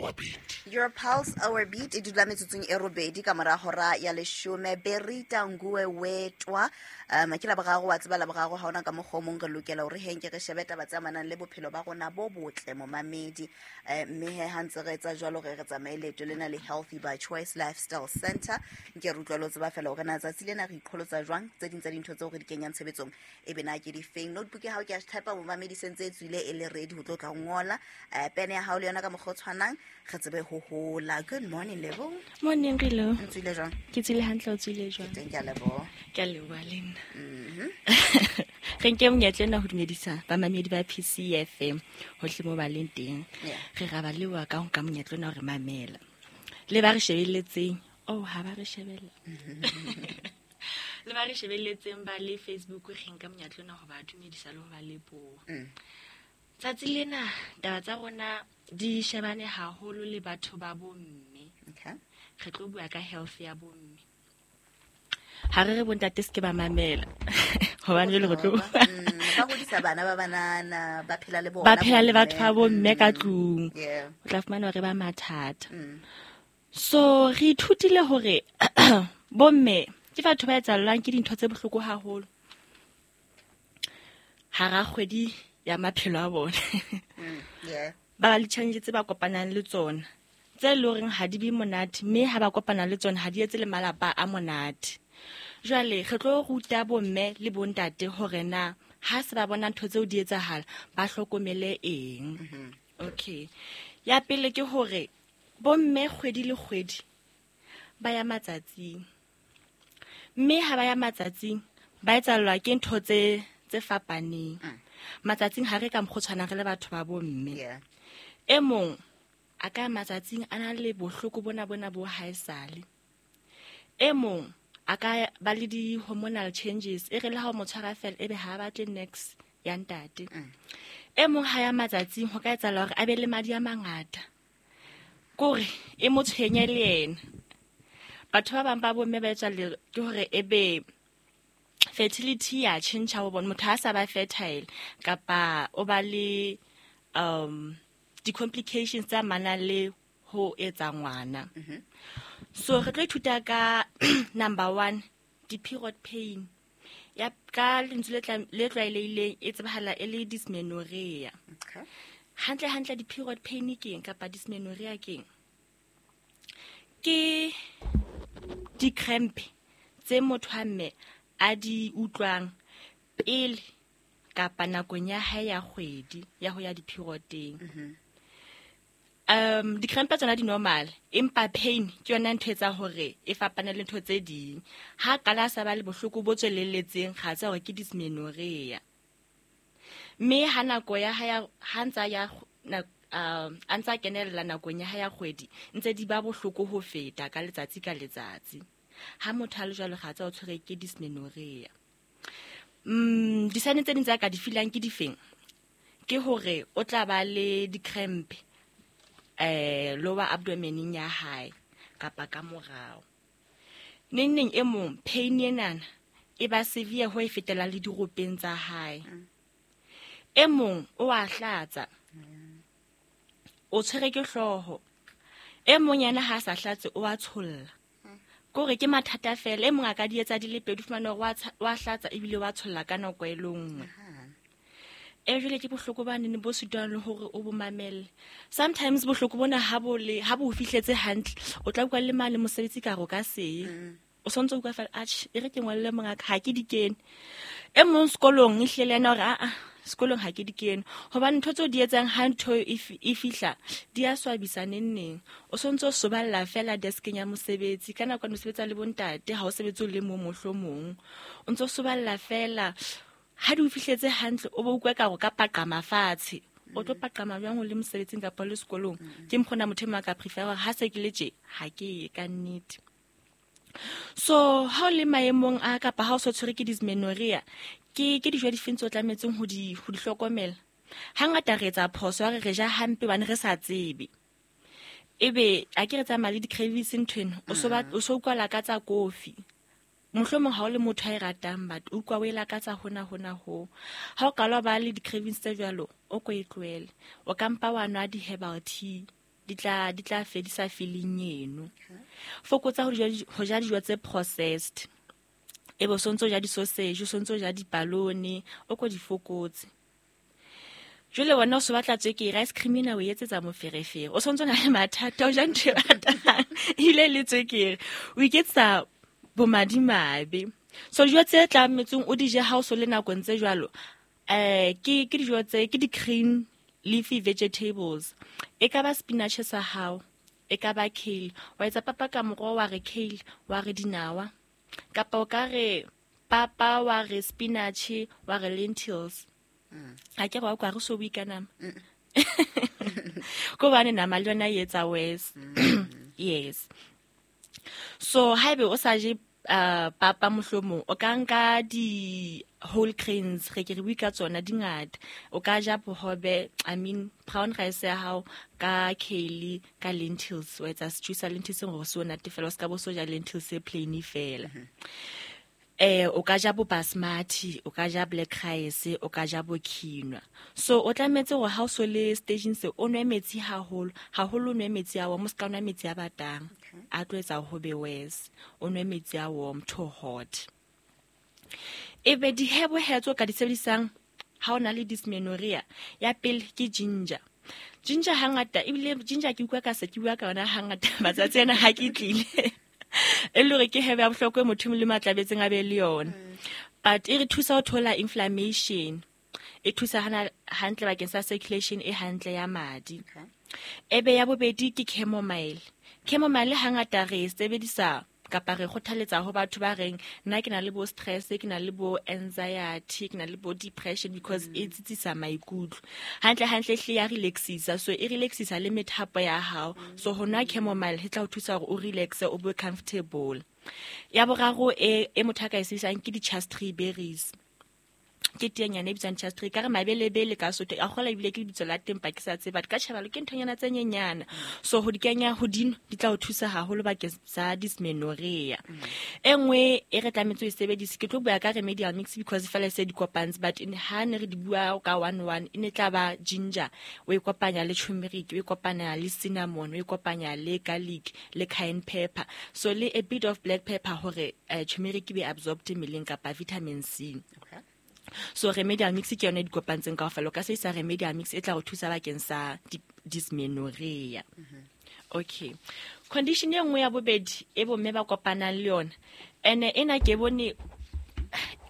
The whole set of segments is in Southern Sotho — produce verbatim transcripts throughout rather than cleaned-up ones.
our beat. Your pulse, our beat e dula metsotsong e robedi ka mora hora ya leshome. Berita Nguwe Wetwa, um ke la boraro wa tseba la boraro ha ona ka mokgwa o mong re lokela hore henke re shebe taba tse amanang le bophelo ba rona bo botle momamedi. Eh, mme he ha ntse re etsa jwalo re re tsamaye leeto lena le Healthy by Choice Lifestyle Center. Nke re utlwa le ho tseba fela hore na tsatsi lena re iqholotsa jwang, tse ding tsa dintho tseo re di kenyang tshebetsong e be na ke difeng. Notebook ya hao ke a type momamedi sentse e tswile e le ready ho tlo tla ngola. Eh, pene ya hao le yona ka mokgwa o tshwanang re tsebe ho hola. Good morning, Lebo. Morning, Rilo. O tswile jwang? Ke tswile hantle, o tswile jwang? Ke teng, ke a leboha. Ke a leboha le nna. Mhm. Re nke monyetla ena ho dumedisa bamamedi ba P C F M hohle moo ba leng teng. Yeah. Re ra ba leboha ka ho nka monyetla ona hore mamela. Le ba re shebelletseng. Oh, ha ba re shebella. Le ba re shebelletseng ba le Facebook, re nka monyetla ona ho ba dumedisa le ho ba leboha. Mm. Tsatsi lena taba tsa rona di shebane haholo le batho ba bomme. Okay. Re tlo bua ka health ya bomme. Ha re re bontate se ke ba mamela. Hobane jwale re tlo Mm, ba hodisa bana ba banana, ba phela le bona Ba phela le batho ba bomme. bomme ka tlung. Yeah. O tla fumana hore ba mathata. Mm. So re ithutile hore bomme ke batho ba etsahallwang ke dintho tse bohloko haholo. Hara kgwedi ya maphelo a bona. Mm, yeah. Ba ba le challenge tse ba kopanang le tsona, tse leng hore ha di be monate, mme ha ba kopana le tsona ha di etse le malapa a monate. Jwale re tlo ruta bomme le bontate hore na ha se ba bona ntho tseo di etsahala ba hlokomele eng. Mm-hmm. Okay. Ya pele ke hore bomme kgwedi le kgwedi ba ya matsatsing. Mme ha ba ya matsatsing ba etsahallwa ke ntho tse, tse fapaneng. Mm. Matsatsing ha re ka mokgwa o tshwanang re le batho ba bomme. Yeah. E mong a ka matsatsing a na le bohloko bona bona bo haesale. E mong a ka ba le di-hormonal changes, e re le ha o mo tshwara fela ebe ha a batle next ya ntate. Mm. E mong ha ya matsatsing ho ka etsahala hore a be le madi a mangata, kore e mo tshwenye le yena. Batho ba bang ba bomme ba etswa le ke hore ebe fertility ya tjhentjha ho bona, motho ha sa ba fertile kapa o ba le, um, di-complications tse amanang le ho etsa ngwana. Mm-hmm. So re tlo ithuta ka number one, di-period pain. Ya ka lentswe le tla-, le tlwaelehileng e tsebahala e le dysmenorrhea. Okay. Hantle hantle di-period pain ke eng kapa dysmenorrhea ke eng? Ke di-cramp tse motho wa mme a di utlwang pele kapa nakong ya hae ya kgwedi ya ho ya di-periodeng. Mm-hmm. Um, di-cramp tsona di normal, empa pain ke yona ntho e etsang hore e fapane le ntho tse ding. Ha qala a sa ba le bohloko bo tswelelletseng, ga tsa hore ke dysmenorrhea. Mme ha nako ya hae ya, ha ntsa ya kg-, na-, um, a ntsa kenella nakong ya hae ya kgwedi, ntse di ba bohloko ho feta ka letsatsi ka letsatsi. Ha motho a le jwalo, ga tsa o tshwere ke dysmenorrhea. Mm, di-sign tse ding tse a ka di feelang ke difeng? Ke hore o tla ba le di-cramp, eh, lower abdomeneng ya hae kapa ka morao. Neng neng e mong pain enana e ba severe ho e fetela le diropeng tsa hae. Mm. E mong o a hlatsa, o tshwere ke hlooho. E mong yena ha a sa hlatse o a tsholla. Kore ke mathata fela. E mong a ka di etsa di le pedi, o fumane hore wa tsha-, wa hlatsa ebile wa tsholla ka nako e le nngwe. E jwale ke bohloko ba nene bo sitwang le hore o bo mamelle. Sometimes bohloko bona ha bo le, ha bo o fihletse hantle, o tla utlwa le mane mosebetsi ka re o ka seye. Mm. O sontso o utlwa fela, atjhe, e re ke ngolle mongaka, ha ke di kene. E mong sekolong e hlile le yena hore, a-a, sekolong ha ke di kene. Hobane ntho tseo di etsang ha ntho e fi-, e fihla, di a swabisa neng neng. O sontso o soballa fela deskeng ya mosebetsi. Ka nako ya mosebetsi le bontate, ha o sebetse o le mong mohlomong. O ntso soballa fela. Ha di o fihletse hantle, o bo utlwe ka hore o ka paqama fatshe. O tlo paqama jwang o le mosebetsing kapa o le sekolong? Mm. Ke mokgwa ona motho e mong a ka prefer hore ha se ke le tje, ha ke ye ka nnete. So ha o le maemong a kapa ha o so tshwere ke dysmenorrhea, ke, ke dijo difeng tseo o tlametseng ho di, ho di hlokomela? Hangata re etsa phoso ya hore re ja hampe hobane re sa tsebe. Ebe a ke re tsamaya le di-cravings nthwena, o so ba, Mm. o so utlwa lakatsa kofi. Mohlomong ha o le motho a e ratang, but o utlwa o e lakatsa hona, hona ho. Ha o qala o ba le di-cravings tse jwalo, o ko e tlohele. O ka mpa wa nwa di-herbal tea. di tla di tla fedisa feeling eno. Fokotsa ho ja ho ja dijo tse processed. E bo sontso ja di-sausage, o sontso ja dipalone, o ko di fokotse. Jwale wena o so batla tswekere, ice cream ena o e etsetsa moferefere. O sontso na le mathata, o ja ntho e batang, ebile le tswekere. O iketsetsa bomadimabe. So dijo tse tlametseng o di je ha o so le nakong tse jwalo, eh ke ke dijo tse ke di-green leafy vegetables. E ka ba spinach sa hao, e ka ba kale. Wa etsa papa ka moroho wa re kale, wa re dinawa. Kapa o ka re papa wa re spinach, wa re lentils. Ha ke re wa kwa re so bue ka nama. Ko hobane nama le yona e etsa worse. Yes. So haebe o sa je uh, papa mohlomong, o ka nka di whole grains, re ke re bue ka tsona di ngata. O ka ja bohobe, I mean brown rice ya hao ka kale, ka lentils, wa etsa stew sa lentils hore se o natefela, o ska bo so ja lentils e plain fela. Eh o ka ja bo basmati, o ka ja black rice, o ka ja bo quinoa. So o tlametse hore ha o so le staging se o nwe metsi haholo, haholo o nwe metsi a warm, o ska nwa metsi a batang. A tlo etsa ho be worse. O nwe metsi a warm to hot. Ebe di-herb he tse o ka di sebedisang ha o na le dysmenorrhea, ya pele ke ginger. Ginger hangata, ebile ginger ke utlwa ka se ke bua ka yona hangata matsatsi ana ha ke tlile. E le hore ke herb ya bohlokwa e motho le matlabetseng a be le yona. But e re thusa ho thola inflammation. E thusa hana hantle bakeng sa circulation e hantle ya madi. Ebe ya bobedi ke chamomile. Chamomile hangata re e sebedisa kapa re kgothaletsa ho batho ba reng nna ke na le bo stress, ke na le bo anxiety, ke na le bo depression, because e tsitsisa maikutlo. Hantle hantle hle ya relaxisa, so e relaxisa le methapo ya hao. So ho nwa chamomile e tla o thusa hore o relaxe, o be comfortable. Ya boraro e e motho a ka e sebedisang ke di-chaste berries. Ke teanyana e bitswang chaste, ka re mabelebele ka Sotho, a kgola ebile ke lebitso la teng pa ke sa tsebe, but ka tjhabalo ke nthonyana tse nyenyana. So ho di kenya hodimo di tla o thusa haholo bakeng sa dysmenorrhea. E nngwe e re tlametse ho e sebedisa, ke tlo bua ka remedial mix because fela se di kopantse, but in ha ne re di bua ka one one, e ne tla ba ginger, o e kopanya le turmeric, o e kopanya le cinnamon, o e kopanya le garlic le cayenne pepper, so le a bit of black pepper hore eh, turmeric e be absorbed mmeleng kapa vitamin C. Okay. So remedial mix ke yone e di kopantseng kaofela. O ka sebedisa remedial mix e tla go thusa bakeng sa di-, dysmenorrhea. Okay. Condition e nngwe ya bobedi e bomme ba kopanang le yona, ene ena ke bone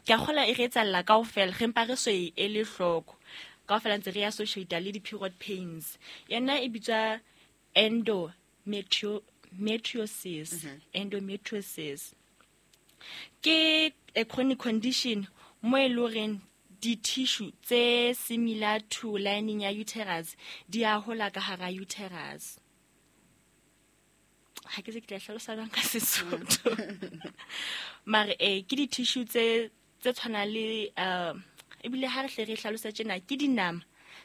ke a kgola e re etsahalla kaofela, re mpa re so e ele hloko. Kaofela ntse re associate le di-period pains. Yona e bitswa endometriosis. Endometriosis ke a chronic condition mo e leng horeng di-tissue tse similar to lining ya uterus di a hola ka hara uterus. Ha ke se ke tla hlalosa jwang ka Sesotho. Mare eh ke di-tissue tse tse tshwanang le, uh, ebile ha re hle re hlalosa tjena ke dinama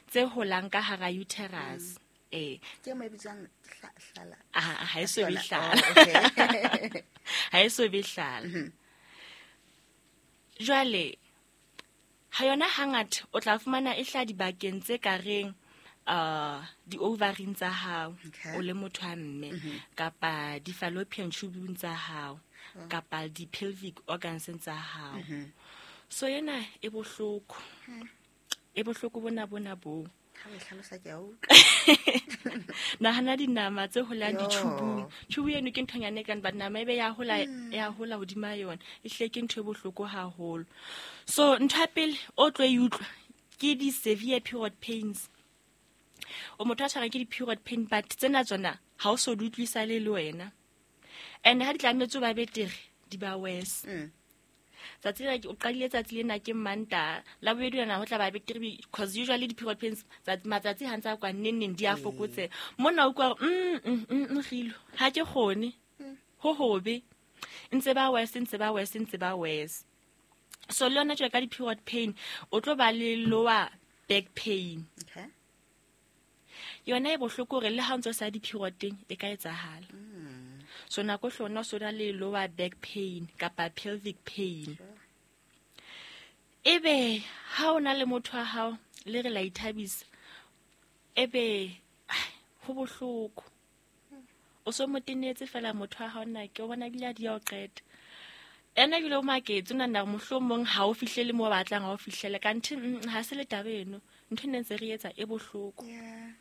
tse holang ka hara uterus. Eh. Ke mo e bitswang hla-, hlala. Ah, ha e so be Hlola. hlala. Oh, okay. Ha e so be hlala. Mm-hmm. Jwale ha yona hangata o tla fumana e hla dibakeng tse ka reng, uh, di-ovaryng tsa hao, Okay. o le motho wa mme, Mm-hmm. kapa di-fallopian tube tsa hao, Sure. kapa di-pelvic organs tsa hao. Mm-hmm. So ena e bohloko. Hmm. E bohloko bona bona bo. Ha o e hlalosa ke a utlwa. Nahana dinama tse holang Yo. ditubung. Tube eno ke nthonyana e kang, but nama ebe ya hola, Hmm. ya hola hodima yona. Ehlile ke ntho e bohloko haholo. So ntho ya pele o tlo e utlwa ke di-severe period pains. O motho a tshwarang ke di-period pain, but tsena tsona ha o so di utlwisa le le wena. And ha di tlametse ho ba betere, di ba worse. Mm. Tsatsi lena ke, o qadile tsatsi lena ke Mantaha, la bobedi lona ho tla ba betere because usually di-period pains tsatsi, matsatsi ha ntse a kwa neng neng di a Mm. fokotseha. Mona o utlwa hore, mm, mm, mm, mm, kgilo, ha ke kgone. Mm. Ho hobe. Ntse ba worse, ntse ba worse, ntse ba worse. So le yona tjalo ka di-period pain, o tlo ba le lower back pain. Okay. Yona e bohloko hore le ha o ntso sa di-period teng, e ka etsahala. Mm. So nako hle ona o so na le lower back pain kapa pelvic pain. Sure. Ebe ha o na le motho wa hao le re la ithabisa, ebe Ho bohloko. O so mo tenetse fela motho wa hao nna ke o bona ebile a di ya o qeta. Ena ebile o maketse, o nahana hore mohlomong ha o fihlele moo o batlang ha o fihlele. Kanthe, mm, ha se le taba eno. Ntho e ne ntse re etsa e bohloko. Yeah.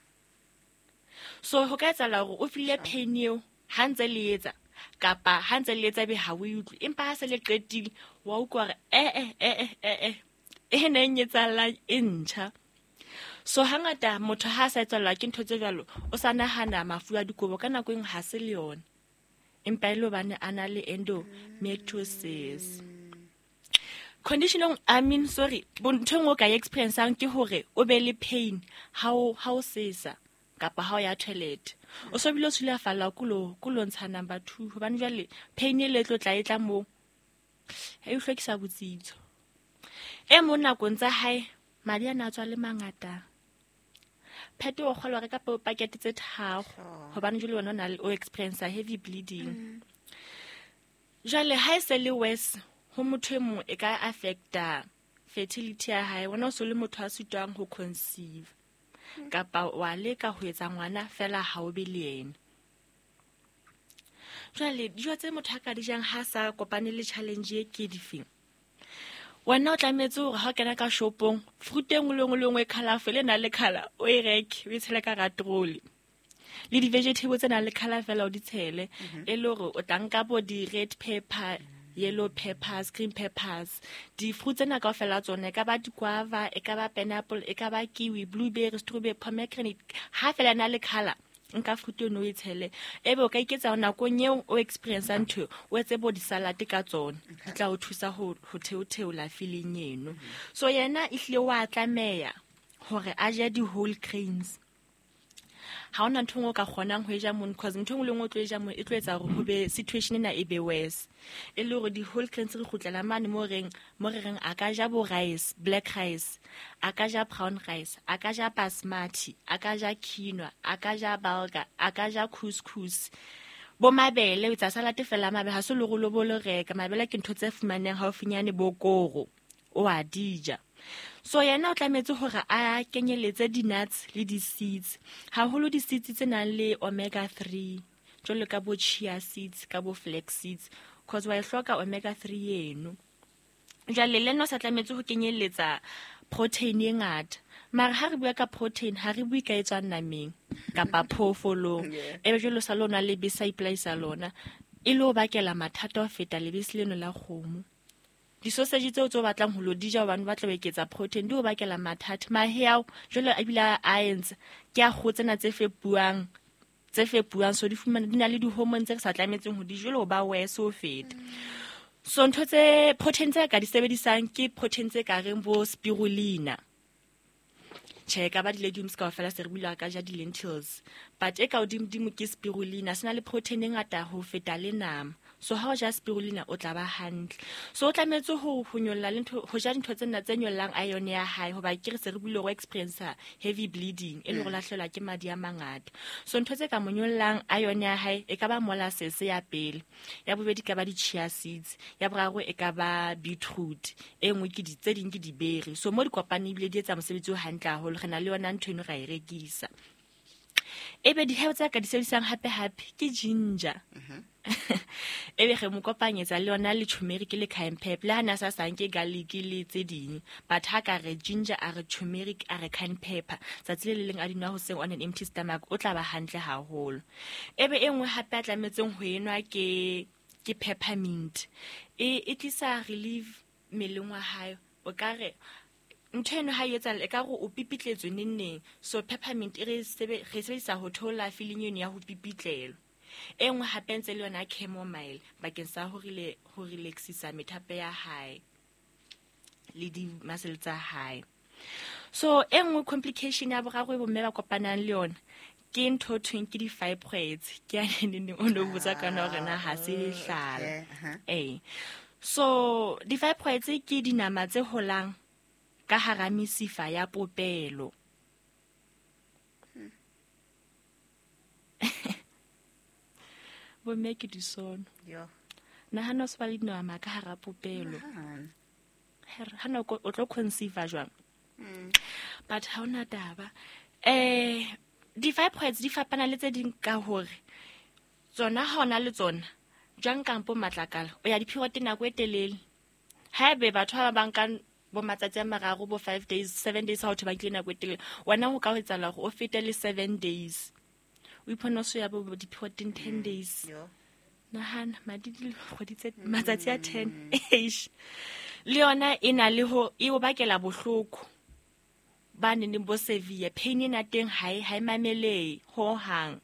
So ho ka etsahala hore o feel pain eo ha ntse le etsa, kapa ha ntse le etsa be ha o e utlwe. Empa ha se le qetile, wa utlwa hore, eh, eh, eh, eh, eh, eh, e neng e etsahalang e ntjha. So hangata motho ha a sa etsahallwa ke ntho tse jwalo, o sa nahana mafu a dikobo ka nako e nngwe ha se le yona. Empa e le hobane a na le endometriosis. Condition, I mean, sorry, ntho e nngwe o ka e experience-ang ke hore o be le pain ha o, ha o sesa kapa ha o ya toilet. O so bile o sulafalla ko lo, ko lo ntsha number two, hobane jwale pain e le tlo tla e tla moo, e o hlwekisa botsitso. E mong nakong tsa hae, madi a na tswa le mangata. Pheto o kgolwa reka po pakete tse tharo, Sure. hobane jwale wena o na le, o experience heavy bleeding. Mm. Jwale ha e se le worse, ho motho e mong e ka affecta fertility ya hae. Wena o so le motho a sitwang ho conceive. Mm. Kapa wa leka ho etsa ngwana fela ha o be le yena. Jwale dijo tse motho a ka di jang ha sa kopane le challenge e ke difeng? Wena o tlametse hore ha o kena ka shopong, fruit e nngwe le nngwe le nngwe e colourful, e nang le colour, o e reke, o e tshele ka hara trolley. Le di-vegetable tse nang le colour fela o di tshele. Mm-hmm. E le hore o tla nka bo di-red pepper, yellow peppers, green peppers. Di-fruit tsena kaofela tsona, e ka ba di-guava, e ka ba pineapple, e ka ba kiwi, blueberry, strawberry, pomegranate. Ha fela e na le colour, nka fruit eno o e tshele. Ebe o ka iketsa hore nakong eo o experience-ang ntho eo, o etse bo di-salad ka tsona. Di tla o thusa ho, ho theotheola feeling eno. So yena ehlile wa tlameha hore a je di-whole grains. Ha hona ntho e nngwe o ka kgonang ho e ja mono, cause ntho e nngwe le nngwe o tlo e ja mono e tlo etsa hore ho be situation ena e be worse. E le hore di-whole grains re kgutlela mane mo reng, mo re reng a ka ja bo rice, black rice, a ka ja brown rice, a ka ja basmati, a ka ja quinoa, a ka ja bulgur, a ka ja couscous. Bo mabele, o etsa salad fela mabele, ha se le hore o lo bo lo reka. Mabele ke ntho tse fumanehang haufinyane bo koro, o a di ja. So yena o tlametse hore a kenyeletse di-nuts le di-seeds, haholo di-seeds tse nang le omega three, jwalo ka bo chia seeds, ka bo flax seeds, cause wa e hloka omega three eno. Jwale le yena o sa tlametse ho kenyelletsa protein e ngata. Mara ha re bua ka protein, ha re bue ka e tswang nameng kapa phoofolong. Yeah. Ebe jwale o sa le o nwa lebese a ipolaisa lona, e le o bakela mathata ho feta lebese leno la kgomo. Di-sausage tseo tse o batlang ho lo di ja hobane o batla ho eketsa protein, di o bakela mathata. Mahe ao jwale a bile a entse ke a kgoho tsena tse fepuwang, tse fepuwang, so di fumana di na le di-hormone tse re sa tlametseng ho di jwale ho ba worse ho feta. So ntho tse protein tse ka di sebedisang ke protein tse ka reng bo spirulina. Tjhe, e ka ba di-legumes kaofela, se re buile ka ja di-lentils. But e ka hodimodimo ke spirulina, se na le protein e ngata ho feta le nama. So ha o ja spirulina o tla ba hantle. So o tlametse ho, ho nyolla le ntho, ho ja dintho tsena tse nyollang iron ya hae, hoba ke re se re buile hore o experience heavy bleeding, e le hore Mm. lahlehelwa ke madi a mangata. So ntho tse ka mo nyollang iron ya hae e ka ba molasses ya pele, ya bobedi e ka ba di-chia seeds, ya boraro e ka ba beetroot, e nngwe ke di, tse ding ke di-berry. So mo di kopane ebile di etsa mosebetsi o hantle haholo, re na le yona ntho eno ra e rekisa. Ebe di-herb tse ka di sebedisang hape-hape ke ginger. Mm-hmm. Ebe re mo kopanyetsa le yona le turmeric le cayenne pepper, le ha na sa sanke garlic le tse ding, but ha ka re ginger, a re turmeric, a re cayenne pepper, tsatsi le le leng a di nwa hoseng on an empty stomach, o tla ba hantle haholo. Ebe e nngwe hape a tlametseng ho enwa ke, ke peppermint. E, e tlisa relief mmeleng wa hae. O ka re ntho eno ha e etsahala, e ka re o pipitletswe neng neng. So peppermint e re sebe-, re sebedisa ho theola feeling eno ya ho pipitlelwa. E nngwe hape ntse le yona chamomile bakeng sa ho rela-, ho relaxisa methapo ya hae le di-muscle tsa hae. So e nngwe complication ya boraro e bomme ba kopanang le yona ke ntho e thweng ke di-fibroids. Ke ya neng neng o no botsa ka yona hore na ha se lehlala. Okay, uh-huh. Ee. So di-fibroids ke dinama tse holang ka hara mesifa ya popelo. Hmm. Bomme ke disono. Yo. Nahana o se ba le dinama ka hara popelo. Nahana. Her, ha nako o tlo conceive jwang? Mm. But ha hona taba. Eh, di Di-fibroids di fapana le tse ding ka hore tsona ha ona le tsona jwang kampo matlakala o ya di-period nako e telele. Haebe batho ba bang ka bo matsatsi a mararo bo five days seven days ha o ba nkile nako e telele, wena ho ka ho etsahala hore o fete le seven days o ipona o so ya bo di-period ten days. Nahana madi di kgwedi tse matsatsi a ten. Eish. Le yona e na le ho e o bakela bohloko ba neng bo severe pain ena teng ha e ha e mamelehe ho hang.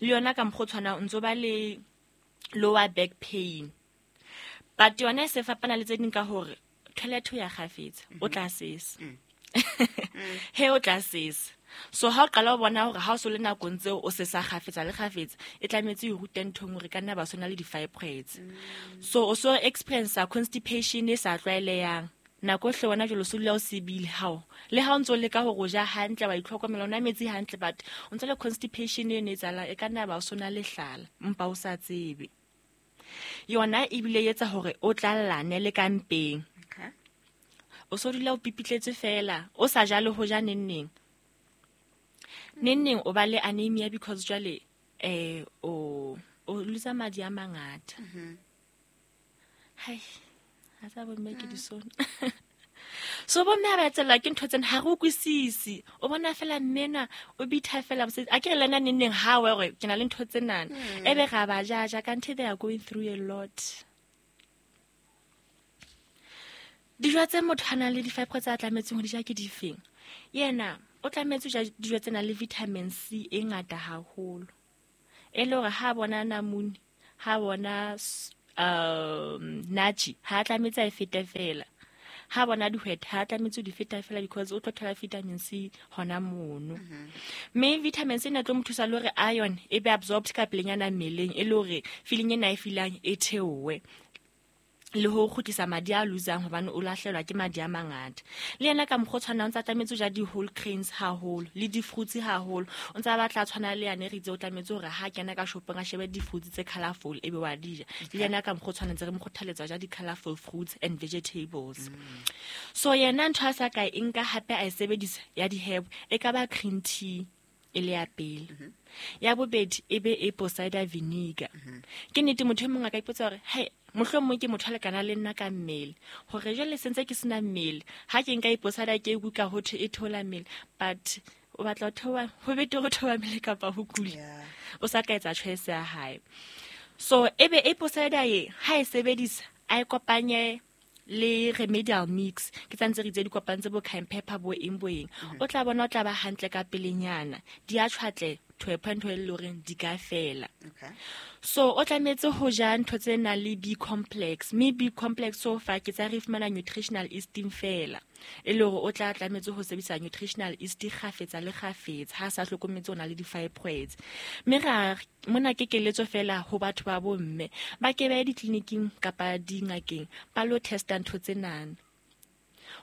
Le yona ka mokgwa o tshwanang o ntso ba le lower back pain, but yona e se fapana le tse ding ka hore toilet ho ya kgafetsa o tla sesa. He o tla sesa. So ha o qala o bona hore ha o so le nakong tseo o sesa kgafetsa le kgafetsa, e tlametse e rute nthong hore ka nna ba sona le di-fibroids. So o so experience constipation e sa tlwaelehang. Nako hle wena jwalo so dula o sebile hao. Le ha o ntso leka hore o ja hantle wa itlhokomela o nwa metsi hantle, but o ntso le constipation e ne etsahala e ka nna ba o sona lehlala mpa o sa tsebe. Yona ebile e etsa hore o tlallane le ka mpeng. Okay. O so dula o pipitletse fela, o sa ja le ho ja neng neng. Neng neng o ba le anemia because jwale eh o o lose madi a mangata. Hai, ha tsa bo mme ke di sona. So bo mme ha ba tsela ke ntho tsena ha re utlwisisi. O bona fela mmena o bitha fela mosebetsi. A ke re lena neng neng ha wa hore ke na le ntho tsenana. Ebe ra ba jaja kanthe they are going through a lot. Dijo tse motho a nang le di-fibroids tse a tlametseng ho di ja ke difeng? Yena o tlametse ho ja dijo tse nang le vitamin C e ngata haholo. E le hore ha bona namune, ha bona um nachi, ha tlametse a e fete fela. Ha bona dihwete, ha tlametse ho di feta fela because o tlo thola vitamin C hona mono. Mme vitamin C ena tlo mo thusa le hore iron e be absorbed ka pelenyana mmeleng, e le hore feeling ena e feelang e theohe. Le ho kgutlisa madi a losang hobane o lahlehelwa ke madi a mangata. Le yena ka mokgwa o tshwanang o ntsa tlametse ho ja di-whole grains haholo le di-fruits haholo. O ntsa batla a tshwana le yane re itse o tlametse hore ha kena ka shopong a shebe di-fruits tse colourful ebe wa di ja. Le yena ka mokgwa o tshwanang ntse re mo kgothaletsa ho ja di-colourful fruits and vegetables. So yena ntho a sa ka e nka hape a e sebedisa ya di-herb e ka ba green tea e le ya pele. Ya bobedi e be apple cider vinegar. Ke nnete motho e mong a ka ipotsa hore hai mohlomong ke motho a lekana le nna ka mmele, hore jwale sentse ke sena mmele, ha ke nka apple cider ke ikutlwa ho thwe e theola mmele, but o batla ho theoha, ho betere ho theoha mmele kapa ho kula. O sa ka etsa choice ya hae. So ebe apple cider e ha e sebedisa a e kopanye le remedial mix, ke tsantse re itse di kopantse bo cayenne pepper bo eng bo eng, o tla bona o tla ba hantle ka pelenyana, di a tshwatle to a point where e le horeng di ka fela. Okay. So o tlametse ho ja ntho tse nang le B complex, mme B complex so far ke tsa re fumana nutritional esteem fela, e le hore o tla tlametse ho sebedisa nutritional yeast kgafetsa le kgafetsa ha sa hlokometse o na le di-fibroids. Mme ra mona ke keletso fela ho batho ba bomme ba ke ba ye ditleliniking kapa dingakeng ba lo testa ntho tsenana,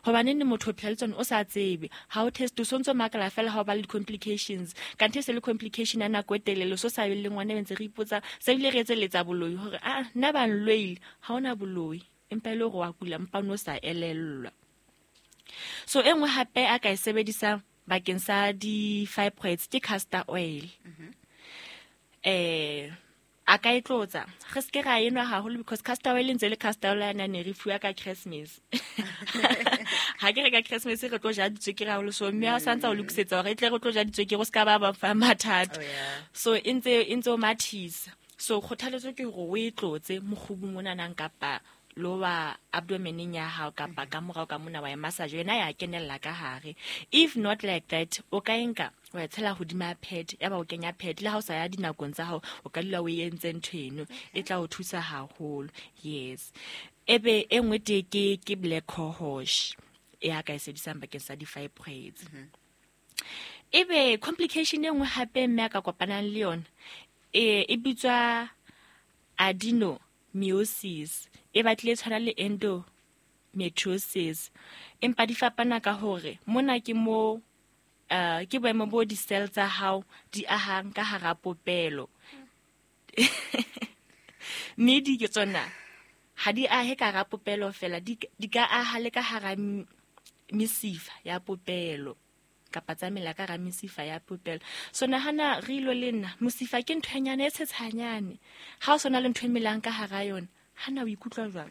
hobane ne motho o phela le tsona o sa tsebe, ha o test o sontso makala fela ha o ba le di-complications, kanthe se le complication ya nako e telele, so sa be le ngwana e ntse re ipotsa se bile re etselletsa boloi hore a nna ba nloile, ha ona boloi empa e le hore wa kula mpa o no sa elellwa. So e nngwe hape a ka e sebedisang bakeng sa di-fibroids ke castor oil. Eh a ka e tlotsa, re seke ra enwa haholo because castor oil e ntse le castor oil yana ne re fuwa ka Christmas. Ha ke re ka Christmas re tlo ja ditswekere haholo, so mme ha o santsa o lokisetsa hore e tle re tlo ja ditswekere o ska ba ba fa mathata. Oh, yeah. So e ntse e ntse o mathisa. So kgothaletso ke hore o e tlotse mokgubung monanang kapa lower abdomeneng ya hao kapa ka morao ka mona wa e massage, yona ya kenella ka hare. If not like that, o ka e nka wa e tshela hodima pad, ya ba o kenya pad le ha o sa ya dinakong tsa hao, o ka dula o e entse ntho eno, e tla o thusa haholo. Yes. Ebe e nngwe teng ke, ke black cohosh e a ka e sebedisang bakeng sa di-fibroids. Ebe complication e nngwe hape mme a ka kopanang le yona e, e bitswa adenomyosis, e batlile e tshwana le endometriosis, empa di fapana ka hore mona ke mo uh, ke boemo bo di-cell tsa hao di ahang ka hara popelo. Mme di ke tsona ha di ahe ka hara popelo fela, di, di ka aha le ka hara m-, mesifa ya popelo. kapa tsa mela ka hara mesifa ya popelo. So nahana re ilo le nna mosifa ke ntho e nyane e tshetshanyane. Ha o sona le ntho e melang ka hara yona, hana o ikutlwa jwang?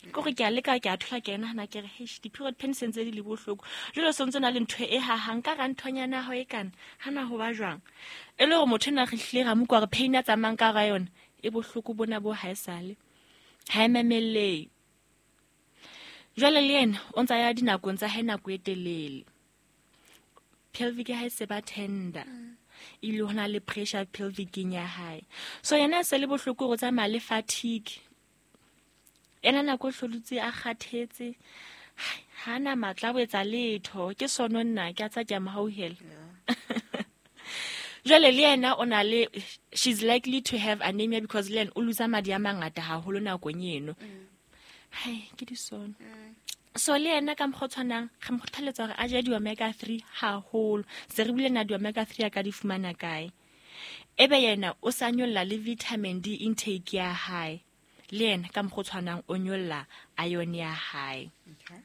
Ke gore ke a leka ke a thola ke nahana ke re heish di-period pain se ntse di le bohloko. Jwale o sontso na le ntho e hahang ka hara nthonyana ya hao e kana, hana ho ba jwang? E le hore motho ena re hlile ra mo utlwa hore pain a tsamayang ka hara yona e bohloko bona bo haesale. Ha e mamellehe. Jwale le yena o ntsa ya dinakong tsa hae nako e telele. Pelvic ya hae se ba tender. Ebile ho na le pressure pelvicing ya hae. So yena se le bohloko hore o tsamaya le fatigue. Ena nako o hlolotse a kgathetse. Ha na matla a ho etsa letho. Ke sono nna ke a tsa ke a mo hauhela. Jwale le yena o na le, she's likely to have anemia because le yena o lose madi a mangata haholo nakong eno. Hai, ke di sono. So le yena ka mokgwa o tshwanang, re mo kgothaletsa hore a je di-omega three haholo. Se re buile na di-omega three a ka di fumana kae. Ebe yena o sa nyolla le vitamin D intake ya hae. Le yena ka mokgwa o tshwanang o nyolla iron ya hae. Okay.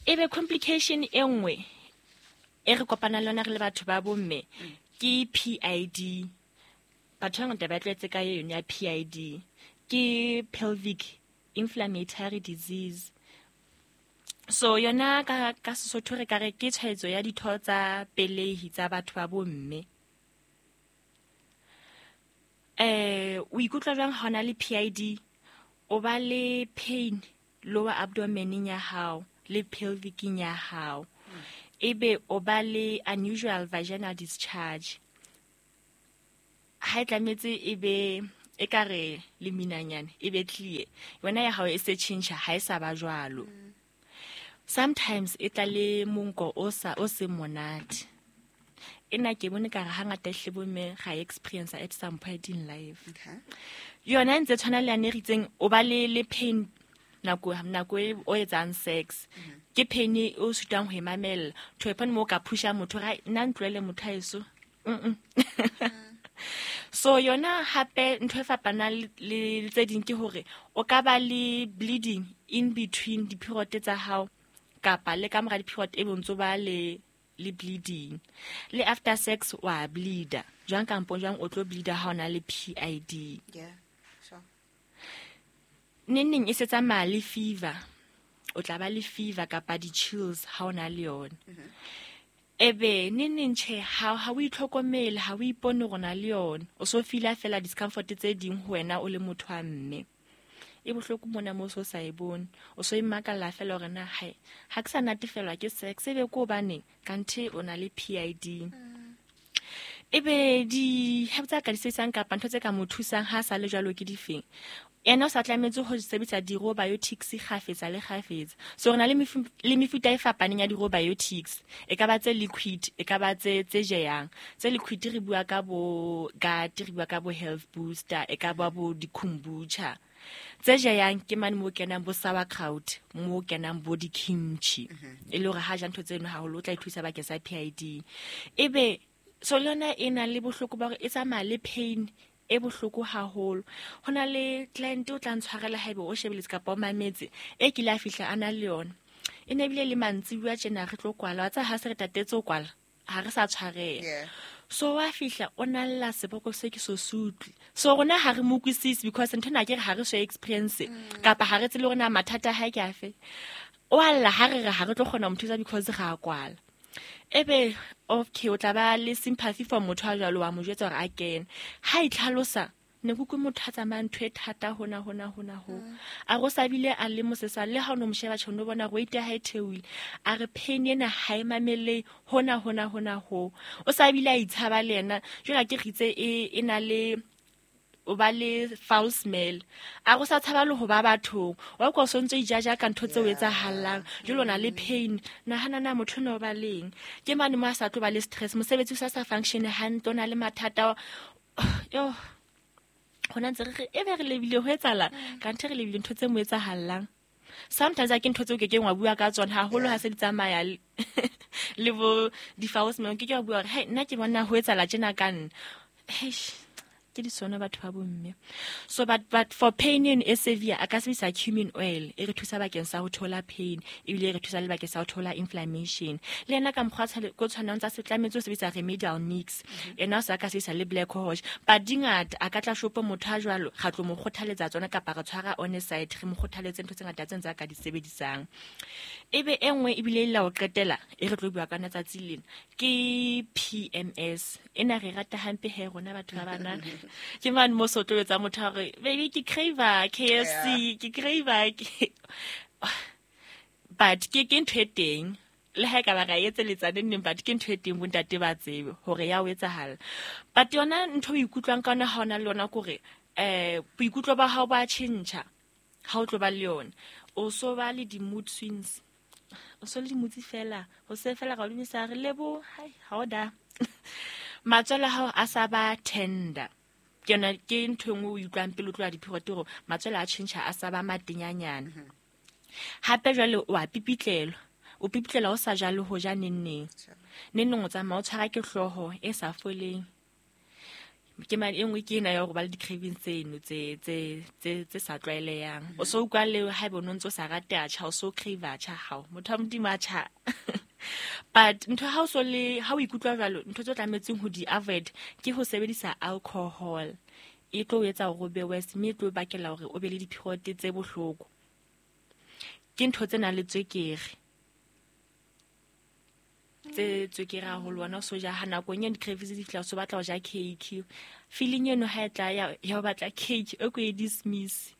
Ebe complication e nngwe e re kopanang le yona re le batho ba bomme ke P I D. Batho ba bangata ba tlwaetse ka yone ya P I D. Ke pelvic inflammatory disease. So yona ka, ka Sesotho re ka re ke tshwaetso ya ditho tsa pelehi tsa batho ba bomme. Eh, o ikutlwa jwang ha o na le P I D? O ba le pain lower abdomeneng ya hao le pelvicing ya hao. Ebe o ba le unusual vaginal discharge. Ha e tlametse e be e ka re le minanyane e be clear. Wena ya hao e se tjhentjha ha e sa ba jwalo. Sometimes e tla le monko o sa o se monate. Ena ke bone ka re hangata hle bomme ga experience at some point in life. Okay. Yona e ntse tshwana le yane e ritseng o ba le le pain nako nako e o etsang sex. Ke pain e o sutang ho e mamella. To a point mo ka pusha motho ra nna ntlohele motho haeso. Mm. So yona hape ntho e fapanang le le tse ding ke hore o ka ba le bleeding in between di-period tsa hao kapa le ka mora di-period e bontso ba le le bleeding. Le after sex wa bleeder. Jwang kampo jwang o tlo bleeder ha o na le P I D. Yeah, sure. Neng neng e se tsamaya le fever. O tla ba le fever kapa di-chills ha o na le yona. Ebe neng neng tjhe ha ha o itlhokomele, ha o ipone hore o na le yona. O so feel-a fela discomfort tse ding ho wena o le motho wa mme. E bohloko mona mo so sa e bone. O so imakalla fela hore na hai ha ke sa natefelwa ke sex ebe ke hobaneng kanthe o na le P I D. Ebe di herbs tsa ka di sebedisang kapa ntho tse ka mo thusang ha sa le jwalo ke difeng? Yena o sa tlametse ho sebedisa di-probiotics kgafetsa le kgafetsa. So re na le mefu-, le mefuta e fapaneng ya di-probiotics. E ka ba tse liquid, e ka ba tse, tse jeyang. Tse liquid re bua ka bo gut, re bua ka bo health booster, e ka ba bo di-kombucha. Tse jeyang ke mane mo kenang bo sauerkraut, mo kenang bo di-kimchi. E le hore ha ja ntho tseno haholo o tla ithusa bakeng sa P I D. Ebe so le yona e na le bohloko ba hore e tsamaya le pain e bohloko haholo. Ho na le client o tla ntshwarela haebe o shebeletse kapa o mametse e kile a fihla a na le yona. E ne ebile le mantsibuya tjena re tlo kwala. Wa tseba ha se re tatetse ho kwala, ha re sa tshwareha. Yeah. So wa fihla o na lla seboko se ke so se utlwe. So rona ha re mo utlwisise because ntho ena ke re ha re so experience kapa ha re tsebe hore na mathata a hae ke afe. O a lla ha re re ha re tlo kgona ho mo thusa because re a kwala. Ebe okay o tla ba le sympathy for motho a jwalo wa mo jwetsa hore a kene. Ha itlhalosa ne ke utlwe motho a tsamayang ntho e thata hona hona hona ho. A re o sa bile a le mosesane le ha o no mo sheba tjhe o no bona hore weight ya hae e theohile. A re pain ena ha e mamelle hona hona hona ho. O sa bile a itshaba le yena. Jwale ha ke re itse e, e na le o ba le foul smell. A go sa tshaba le ho ba bathong. Wa kwa o sontso ijaja ka ntho tseo Yeah. etsahalang. Jwale o na le pain. Nahana na motho no ba leng. Ke mane mo a sa tlo ba le stress. Mosebetsi o sa sa function hantle, o na le mathata. Yo. Hona ntse re re, ebe re lebile ho etsahala. Kanthe re lebile ntho tse mo etsahallang. Sometimes ha ke ntho tseo ke keng wa bua ka tsona haholo ha se di tsamaya le, le bo di-foul smell. Ke ke wa bua hore, hey, nna ke bona ho etsahala tjena ka nna. Eish. Ke di sona batho ba bomme. So but but for pain eno e severe a ka sebedisa cumin oil e re thusa bakeng sa ho thola pain ebile e re thusa le bakeng sa ho thola inflammation. Le yena ka mokgwa tshwale- ko tshwanang tsa se tlametse ho sebedisa remedial mix. Yena o sa ka sebedisa le black cohosh. But di ngata a ka tla shopo motho a jwalo ga tlo mo kgothaletsa tsona kapa re tshwara on a side re mo kgothaletse ntho tse ngata tse ntse a ka di sebedisang. Ebe e nngwe ebile e la ho qetela e re tlo bua ka yona tsatsi lena ke P M S. Ena re rata hampe he rona batho ba banana. Ke mane mo so tlo etsa motho a re baby ke crave K F C, ke crave ke but ke ke ntho e teng le ha e ka ba ra etseletsa neng neng, but ke ntho e teng bontate ba tsebe hore ya o etsahala. But yona ntho o ikutlwang ka yona ha ona le yona kore eh boikutlo ba hao ba tjhentjha ha o tlo ba le yona. O so ba le di-mood swings, o so le di-mood fela, ho se fela ra o dumisa re lebo, hai ha o da. Matswele a hao a sa ba tender. Ke yona ke ntho e nngwe o utlwang pele o tloha di-period hore matswele a tjhentjha a sa ba matenyanyana. Hape jwale o a pipitlelwa, o pipitlelwa o sa jale ho ja neng neng. Neng neng o tsamaya o tshwara ke hlooho e sa foleng. Ke mane e nngwe ke ena ya hore ba le di-cravings tseno tse, tse, tse, tse sa tlwaelehang. O so utlwa le haeba o no ntso sa rate atjha, o so crave atjha hao. Motho wa Modimo atjha. But ntho ha o so le, ha o ikutlwa jwalo, ntho tse o tlametseng ho di avoid ke ho sebedisa alcohol. E tlo o etsa hore o be worse, mme e tlo o bakela hore o be le di-period tse bohloko. Ke ntho tse nang le tswekere. Tse tswekere haholo, wena o so ja ha nakong eno di-cravings di fihla, o so batla ho ja cake. Feeling eno ha e tla ya, ya ho batla cake, e ko e dismiss.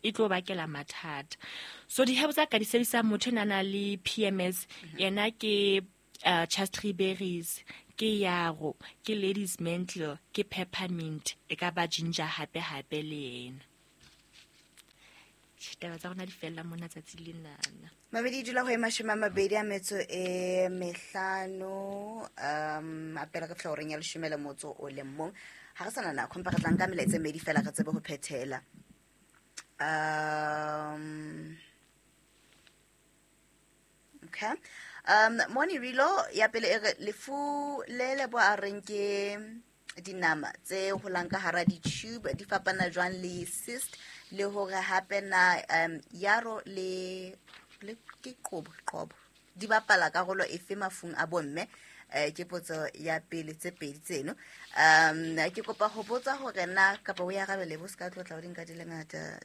E tlo bakela mathata. So di-herbs tsa ka di sebedisang motho ena a nang le P M S, yena ke, uh, chaste berries, ke yarrow, ke lady's mantle, ke peppermint, e ka ba ginger hape hape le yena. Taba tsa rona di fella mona tsatsi lenana. Mabedi dula ho e mashome a mabedi a metso e mehlano, um, a pele re fihla horeng ya leshome le motso o le mong. Ha re sana nako, empa re tla nka melaetsa e mmedi fela re tsebe ho phethela. Um, okay. Um, Moni Rilo ya pele e re lefu le le bo a reng ke dinama tse holang ka hara di-tube di fapana jwang le cyst, le hore hape na, um, yaro le, le ke qobo, qobo di bapala karolo efe mafung a bomme? Eh, ke potso ya pele tse pedi tseno. Um, ke kopa ho botsa hore na kapa o ya arabele bo se ka tlotla o di nka di le ngata.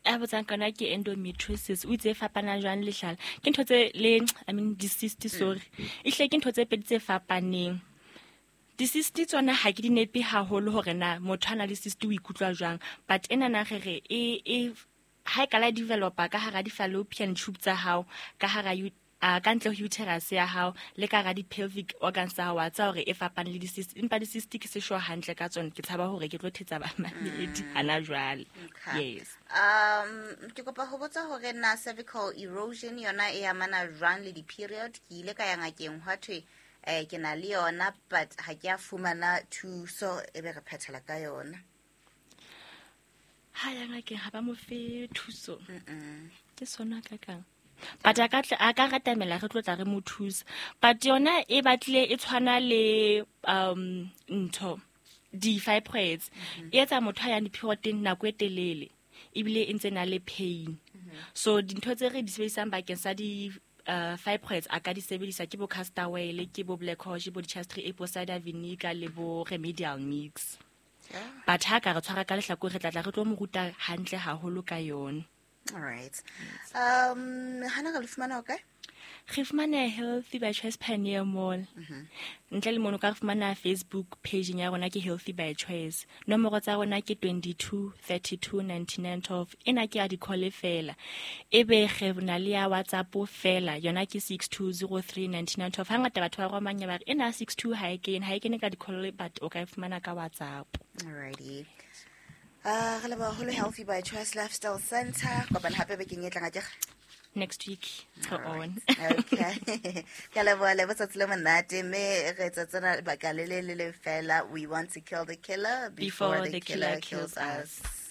A botsang kana ke endometriosis, o itse e fapana jwang le hlala? Ke ntho tse le, I mean, di-cyst, sorry. Ehlile ke ntho tse pedi tse fapaneng. Di-cyst tsona ha ke di nepe haholo hore na motho a na le cyst o ikutlwa jwang, but ena na re re e, e ha e ka la developa ka hara di-fallopian tube tsa hao, ka hara u-, a, ka ntle ho uterus ya hao le ka hara di-pelvic organs tsa hao, wa tseba hore e fapane le di-cyst, empa di-cyst ke se sure hantle ka tsona, ke tshaba hore ke tlo thetsa bamamedi Mm. hana jwale. Okay. Yes. Um, ke kopa ho botsa hore na cervical erosion yona e amana jwang le di-period? Ke ile ka ya ngakeng hwa thwe, eh, ke na le yona, but ha ke a fumana thuso, e be re phethela ka yona. Ha ya ngakeng ha ba mo fe thuso. Mm-mm. Ke sona ka kang. But a ka tla, a ka ratamela re tlo tla re mo thusa. But yona e batlile e tshwana le, um, ntho, di-fibroids. Mm-hmm. E etsa motho a yang di-period-eng nako e telele, ebile e ntse na le pain. Mm-hmm. So dintho tse re di sebedisang bakeng sa di, uh, fibroids a ka di sebedisa ke bo castor oil, ke bo black cohosh, bo di-chastity apple cider vinegar le bo remedial mix. Yeah. But ha ka re tshwara ka lehlakore, re tla tla re tlo mo ruta hantle haholo ka yona. All right. Um, hana re le fumana hokae? Re fumana Healthy by Choice Pioneer Mall. Mm-hmm. Ntle le mono ka re fumana Facebook page ya rona ke Healthy by Choice. Nomoro tsa rona ke twenty-two, thirty-two, ninety-nine, twelve. Ena ke ya di-call fela. Ebe re na le ya WhatsApp fela, yona ke six two zero three, ninety-nine, twelve. Hangata batho ba romang ba re ena six two ha e kene, ha e kene ka di-call, but o ka e fumana ka WhatsApp. Alrighty. Uh, re leboha haholo Healthy by Choice Lifestyle Center. Kopana hape bekeng e tlang akere? Next week, go All right. on. Okay. Ke a leboha, lebo tsatsi le monate, mme re etsa tsena lebaka le le le le fela. We want to kill the killer before, Before the the killer killer kills kills us. us.